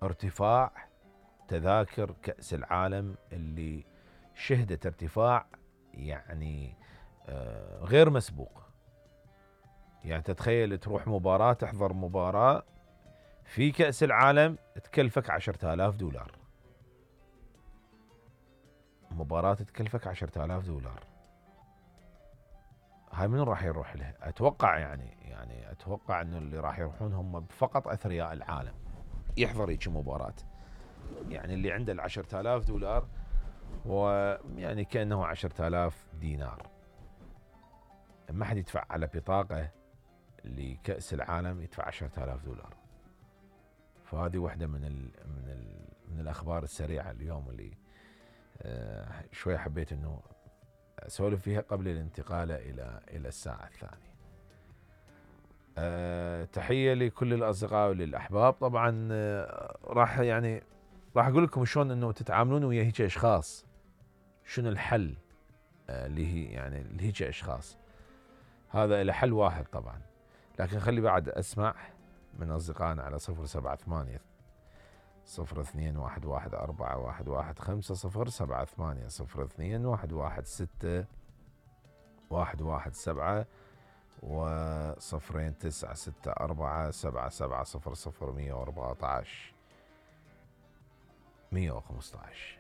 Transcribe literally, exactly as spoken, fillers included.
ارتفاع تذاكر كأس العالم اللي شهدت ارتفاع يعني غير مسبوق. يعني تتخيل تروح مباراة، تحضر مباراة في كأس العالم تكلفك عشرة آلاف دولار، مباراة تكلفك عشرة آلاف دولار. هاي من راح يروح لها؟ اتوقع يعني يعني اتوقع انه اللي راح يروحون هم فقط اثرياء العالم يحضر هيك مباراة. يعني اللي عنده العشرة آلاف دولار ويعني كأنه عشرة آلاف دينار، ما حد يدفع على بطاقة لكأس العالم يدفع عشرة آلاف دولار. فهذه واحدة من ال من ال من الأخبار السريعة اليوم اللي آه شوي حبيت إنه أسولف فيها قبل الانتقال إلى إلى الساعة الثانية. آه تحية لكل الأصدقاء وللأحباب. طبعا آه راح يعني راح أقول لكم شلون إنه تتعاملون ويا هيك أشخاص، شنو الحل آه اللي هي يعني لهيك أشخاص. هذا له حل واحد طبعا، لكن خلي بعد أسمع من أصدقائنا على صفر سبعة ثمانية صفر اثنين واحد واحد أربعة واحد واحد خمسة صفر سبعة ثمانية صفر اثنين واحد واحد ستة واحد واحد سبعة وصفرين تسعة ستة أربعة سبعة سبعة صفر صفر مية وأربعة عشر مية وخمسة عشر.